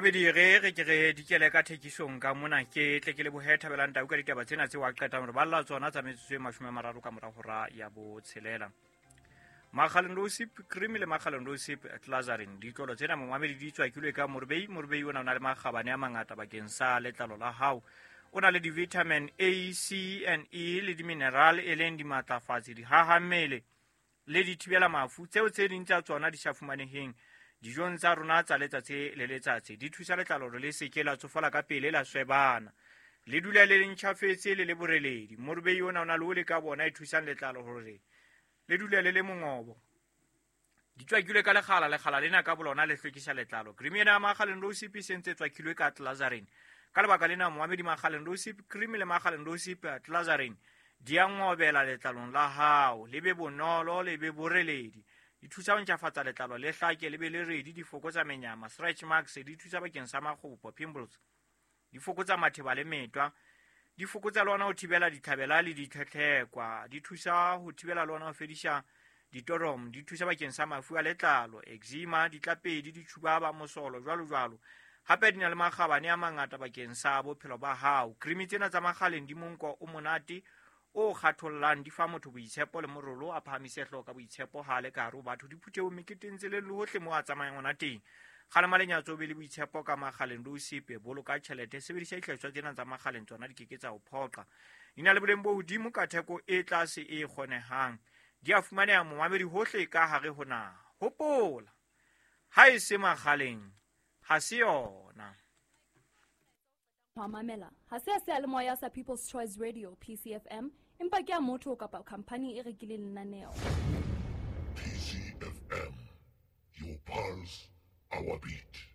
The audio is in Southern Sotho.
Mamedi, re re ke re dikele ka thekisong ka mona, ke tle ke lebohe Thabelang Tau ka ditaba tsena tseo a qetang hore balla tsona tsa metsotso e 30 ka mora hora ya botshelela. Makgaleng Rosip cream le Makgaleng Rosip Glazarin, ditlolo tsena momamedi di tswakilwe ka morobei. Morobei ona o na le makgabane a mangata bakeng sa letlalo la hao. O na le di-vitamin A, C and E le di-mineral e leng dimatlafatsi, dihahammele le dithibela mafu, tseo tse ding tsa tsona di sa fumaneheng dijong tsa rona tsa letsatsi le letsatsi. Di thusa letlalo hore le seke la tsofala ka pele, la swebana, le dula le le ntjhafetse le le boreledi. Morobei ona o na le ole ka bona e thusang letlalo hore le dule le le mongobo. Di tswakilwe ka lekgala, lekgala lena ka bolona le hlwekisa letlalo. Cream ena ya Makgaleng Rosip e sentse e tswakilwe ka Glazarin. Ka lebaka lena momamedi, Makgaleng Rosip cream le Makgaleng Rosip Glazarin di a ngobela letlalong la hao, le be bonolo, le be boreledi. Di thusa ho ntjhafatsa letlalo, le hlake, le be le redi. Di fokotsa menyama, stretch marks, di thusa bakeng sa makgopo, pimples, di fokotsa matheba le metwa, di fokotsa le ona ho thibela ditlhabela le ditlhetlhekwa, di thusa ho thibela le ona ho fedisa ditorom, di thusa bakeng sa mafu a letlalo, eczema, ditlapedi, ditjhubaba, mosolo, jwalo jwalo. Hape di na le makgabane a mangata bakeng sa bophelo ba hao. Cream tsena tsa Makgaleng di monko o monate o kgathollang, di fa motho boitshepo le morolo, a phahamise hlooho ka boitshepo ha a le ka hare ho batho, diphuthehong, meketeng, tseleng le hohle moo a tsamayang ona teng. Kgalema lenyatso, o be le boitshepo ka Makgaleng le o sepe. Boloka tjhelete, sebedisa dihlahiswa tsena tsa Makgaleng, tsona di keke tsa o phoqa. Di na le boleng bo hodimo ka theko e tlase e kgonehang. Di a fumaneha momamedi hohle ka hare ho naha. Hopola, ha e se Makgaleng ha se yona. Ho mamela ha se a seyalemoya sa People's Choice Radio, PCFM, empa ke a motho kapa khampani e rekileng lenaneo. PCFM, your pulse, our beat.